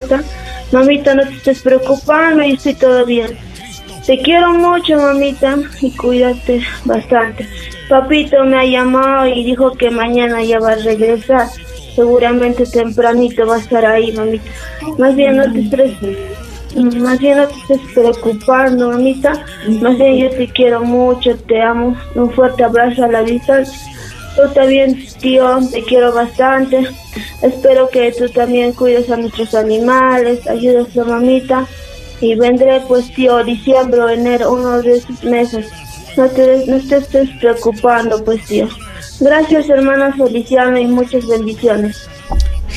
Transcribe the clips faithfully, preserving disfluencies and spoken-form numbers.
Cota. Mamita, no te estés preocupando, yo estoy todo bien. Te quiero mucho, mamita, y cuídate bastante. Papito me ha llamado y dijo que mañana ya va a regresar. Seguramente tempranito va a estar ahí, mamita. Más bien no te estreses. Más bien no te estés preocupando, mamita. Más bien yo te quiero mucho, te amo. Un fuerte abrazo a la distancia. Tú también, tío, te quiero bastante. Espero que tú también cuides a nuestros animales, ayudes a mamita. Y vendré, pues, tío, diciembre o enero, uno de esos meses. No te, no te estés preocupando, pues, tío. Gracias, hermana Feliciano, y muchas bendiciones.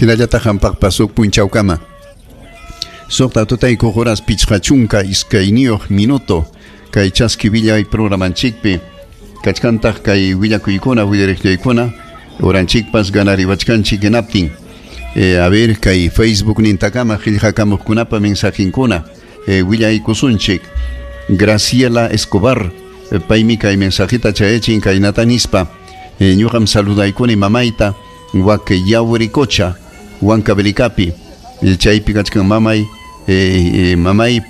Hinallataq qampaqpas huk punchawkama. Suqta tutaykuq horas pichqa chunka iskayniyuq minuto kay chaski willay programanchikpi kachkantaq kay willakuykuna willariqllaykuna oranchikpas ganariwachkanchik hinaptin. Eh, a ver kay Facebook nintakama qillqakamuqkunapa mensajinkuna eh, willaykusunchik. Graciela Escobar eh, paymi kay mensajita chayachin kaynata nispa. Eh, ñuqam saludaykuni mamayta wak Yaurikocha Huancavelicapi eh, chaypi kachkan mamay eh, eh, mamay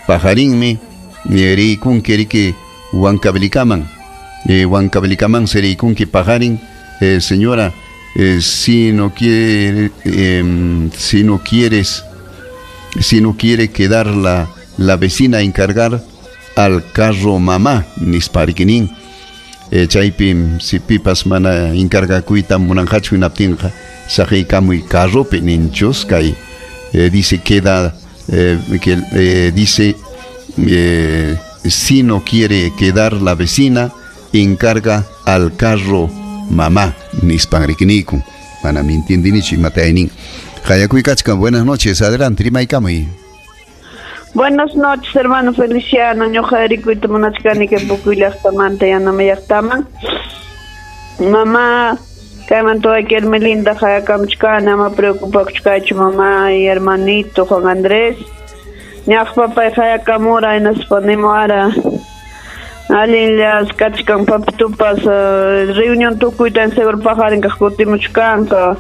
pajarinmi eh, rikunki riki Huancavelicaman eh, Huancavelicaman seriykunki pajarin. eh, señora, eh, si no quiere eh, si no quieres si no quiere quedar la, la vecina a encargar al carro mamá nisparikinin. Eh, chaypi si pipas mana encargakuyta munanqachu hinaptinqa saqiykamuy carropi ninchus kay eh, dice queda eh, que eh, dice eh, si no quiere quedar la vecina encarga al carro mamá nispanrikiniku. Mana mi entiendinichu imataynin. Qayakuykachkan. Buenas noches, adelante rimaykamuy. Buenas noches, hermano Feliciano. Ñuqa rikuyta munachkani kay Pucuy llaqtamanta Yanama llaqtaman. Mamá, kaymanta wayki Hermelinda qayakamuchkani, ama preocupakuchkaychu mamá y hermanito Juan Andrés. Ñaq papay qayakamura hinaspa nimuwara allinllas kachkan papitupas uh, reunión tukuyta en seguro paqarin kaq kutimuchkanqa.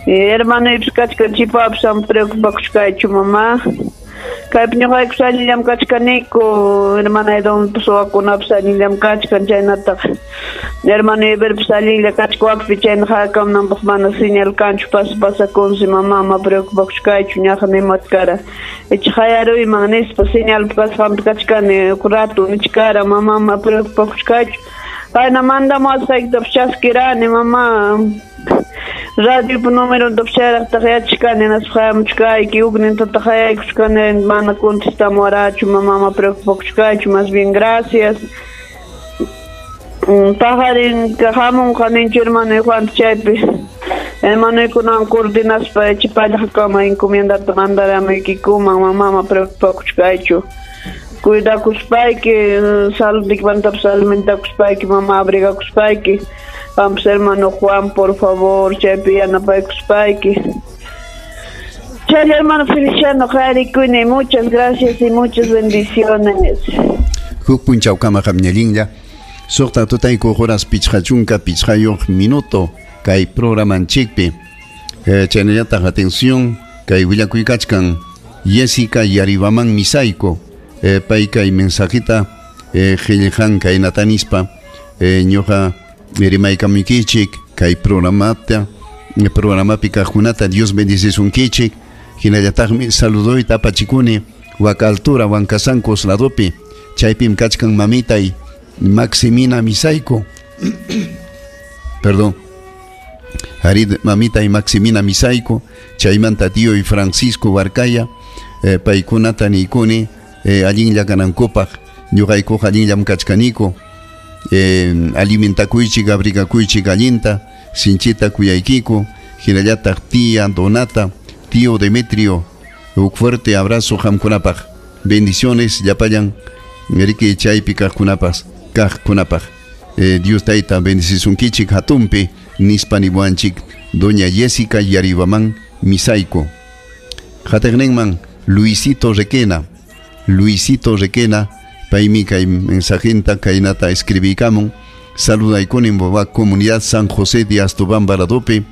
Hermanoypas kachkan chipapas ama preocupakuchkaychu mamá. Kaypi ñuqaykus allillam kachkaniku, hermana Edonpas wawakunapas allillam kachkan, chaynataq hermano Iberpas allinlla kachkawakpi chayna hayakamunanpaq mana señal kanchu pasa pasakunsi mamá ama preocupakuchkaychu ñaqa nimuwachkara icha hayaruyman nispa señalpa kasqanpi kachkani huk rato nichkara mamá ama preocupakuchkaychu. Payna mandamuwasqaykitapas chaskirani mamá. Radiopa numerontapas chayraqtaq yachachkani hinaspa hayamuchkayki huknintataq hayaykuchkani mana contestamuwarachu mamá ama preocupakuchkaychu más bien gracias. Paqarin hamunqa ninchu hermano Juan chaypi hermanoykunawan coordinaspa chipallaqkama encomiendata mandaramuykikuman mamá ama preocupakuchkaychu. Cuidakuspayki saludiykimantapas alimentakuspayki mamá abrigakuspayki. Vamos, hermano Juan, por favor, chaypi yanapaykuspayki. Chay hermano Feliciano Jarikuni, muchas gracias y muchas bendiciones. Huk punchawkama qamñallinlla. Suqta tutayku horas pichqa chunka pichqayuq minuto kay programanchikpi. Eh, chaynallataq atención kay willakuykachkan Jessica Yaribaman Misayko. Eh, pay kay mensajita eh, qillqan kaynata nispa eh, ñuqa rimaykamuykichik kay programata programapi kaqkunata Dios bendicisunkichik. Hinallataqmi saludoyta apachikuni wak altura Huancasancos ladopi chaypim kachkan mamitay Maximina Misayko. Perdón. Harid mamita y Maximina Misayko chaymanta tío y Francisco Huarcaya eh, paykunata niykuni eh, allinlla kanankupaq ñuqaykuqa allinllam kachkaniku. Eh, alimentakuychik abrigakuychik allinta sinchita kuyaykiku. Hinallataq tía Donata, tío Demetrio, un fuerte abrazo qamkunapaq. Bendiciones llapallan riki chaypi kaqkunapas kaqkunapaq. Eh, Dios tayta bendicisunkichik hatunpi nispa niwanchik doña Jessica Yaribaman Misayko. Qatiqninman Luisito Requena, Luisito Requena paymi kay mensajinta kaynata escribiykamun. Saludaykuni wa comunidad San José de Astobamba ladopi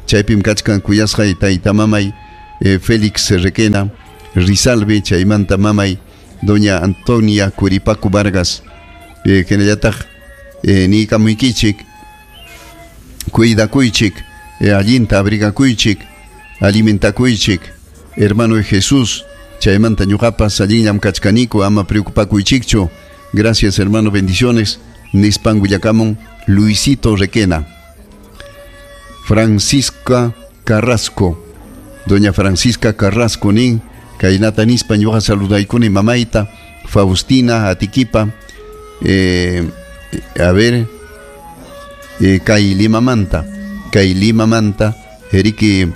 chaypim kachkan kuyasqay tayta mamay eh, Félix Requena Rizalbe, chaymanta mamay doña Antonia Curipaco Vargas, eh, hinallataq eh, niykamuykichik, cuidakuychik, eh, allinta abrigakuychik, alimentakuychik, hermano Jesús, chaymanta ñuqapas allinllam kachkaniku, ama preocupakuychikchu. Gracias, hermano, bendiciones. Nispan willakamun Luisito Requena. Francisca Carrasco, doña Francisca Carrasco nin, kaynata nispa ñuqa saludaykuni mamayta, Faustina Atiquipa, eh, a ver, eh, kay Limamanta, kay Limamanta, eriki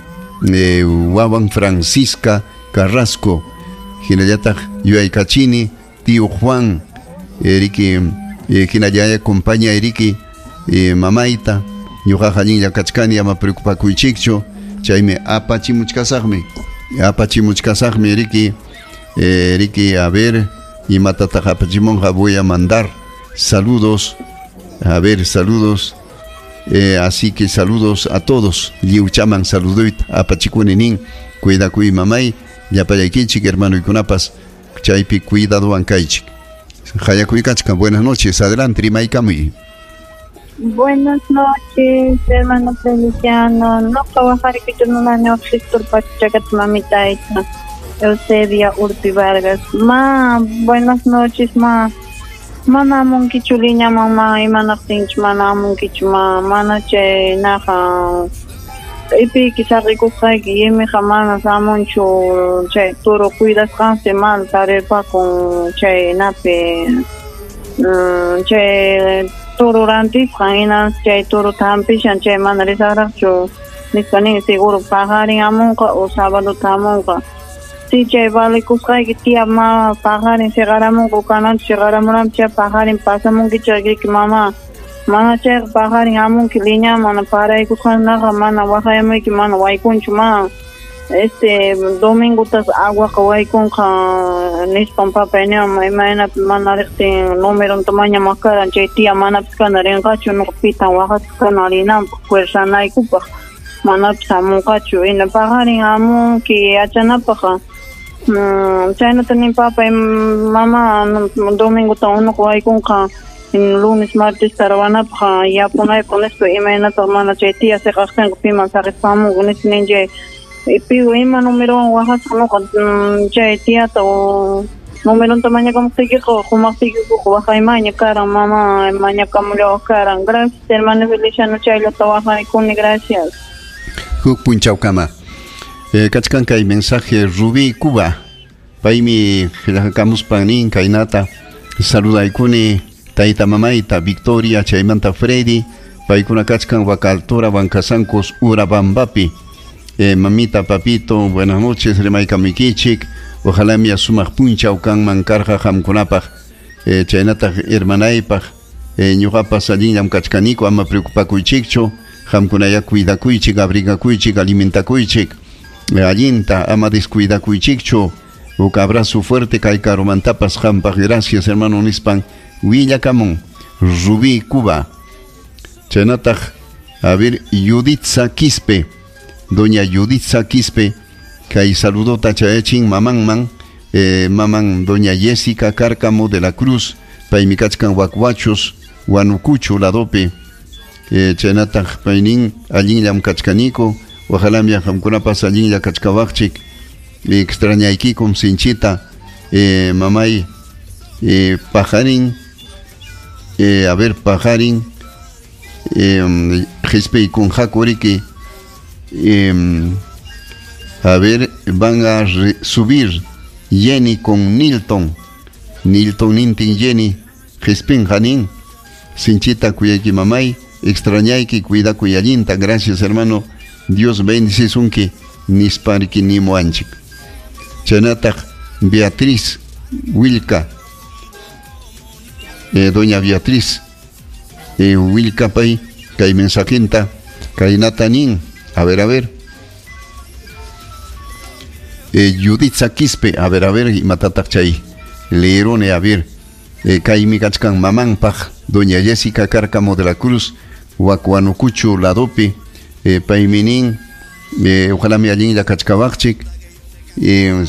eh, wawan Francisca Carrasco, hinallataq yuyaykachini, tío Juan, eriki eh, hinallaya compañía eriki eh, mamayta, ñuqaqa allinlla kachkani, ama preocupakuychikchu, chaymi apachimuchkasaqmi, apachimuchkasaqmi eriki, eh, eriki, a ver, imatataq apachimunqa, voy a mandar saludos, a ver, saludos, eh, así que saludos a todos, lliwchaman saluduyta apachikuni nin, cuidakuy mamay, llapallaykichik hermanoykunapas, chaypi cuidadowan kaychik. Hayakuykachka, buenas noches, adelante, rimaykamuy. Buenas noches, hermano Feliciano. No mamita Eusebia Urpi Vargas. Ma, buenas noches, ma. Mana amunkichu liña mamá, imanaptinchu mana amunkichu ma, mana chay naqa ipiyki saqikusqayki yimiqa mana samunchu chay toro cuidasqansi mana tarirpakun chay napi chay toro rantisqan hinas chay toro hampishan chay mana risaqraqchu nispa nin seguro paqarin amunqa o sábado hamunqa. Si chay valikusqayki tía ma paqarin siqaramunqa kananchu siqaramuranpi chay paqarin pasamunki chayki mama mana chayqa paqarin amunki liñaman mana paraykusqanaqa mana waqayamuyki mana waykunchu ma este domingotas aguaqa waykunqa nispan papay niwan imaynapi mana riqtin numeronta mañamaq karan chay tía manapis kana rinqachu nuqa pitan waqasqa kana rinanpaq fuerzanaykupaq manapis hamunqachu hina paqarin amunki yachanapaq. Chaynata nin papay mama domingota unuqa waykunqa lunes martes tarawanapaq yapunaypaq nispa imaynataq mana chay tía siqaqtinqa piman saqispa hamunqa nispa nin chay pigo ima numerowan waqasqa nuqa chay tiata o numeronta mañakamuptiykiqa qumaqtiykiqa waqaymaña karan mama mañakamullawaq karan. Gracias, hermano Feliciano, chayllata waqaykuni, gracias. Huk punchawkama. Eh, kachkan kay mensaje Rubí Cuba. Paymi qillqakamuspan nin kaynata saludaykuni tayta mamayta Victoria chaymanta Freddy, paykuna kachkan Huacaltura Huancasancos Urabambapi. Eh, mamita, papito, buenas noches, rimaykamukichik. Ojalá mi asumaq punchaw kanman karqa qamkunapaq, eh, chaynataq hermanaypaq, eh, ñuqapas allinllam kachkaniku, ama preocupakuychikchu, qamkunaya cuidakuychik, abrigakuychik, alimentakuychik, eh, allinta, ama descuidakuychikchu. Huk abrazo fuerte kay karumantapas qampaq, gracias hermano nispan willakamun Rubí Cuba. Chaynataq, a ver, Yuditza Quispe, doña Yuditza Quispe, kay saludota chayachin mamanman, eh, maman doña Jessica Cárcamo de la Cruz, paymi kachkan Huacuachos, Huanucucho ladopi, eh, chaynataq paynin allinllam kachkaniku, ojalá mi qamkunapas allinlla kachkawaqchik, extrañaykikum sinchita, eh, mamay, eh, pajarín, eh, a ver, pajarín, eh, qhispiykunqaku eh, a ver, van a subir Jenny con Nilton, Nilton nintin Jenny, qispinqa nin, sinchita kuyayki mamay, extrañayki, cuidakuy allinta, gracias hermano, Dios bendicisunki, nispariki nimuanchik. Chaynataq Beatriz Wilca, eh, doña Beatriz eh, Wilca pay, kay mensajinta, kaynata nin, a ver, a ver. Eh, Yuditza Quispe, a ver, a ver, imatataq chay leerone, a ver, eh, kaymi kachkan mamanpaq, doña Jessica Cárcamo de la Cruz, Huacuanucucho ladopi, eh, paymi nin, eh, ojalá mi allinlla kachkawaqchik, Y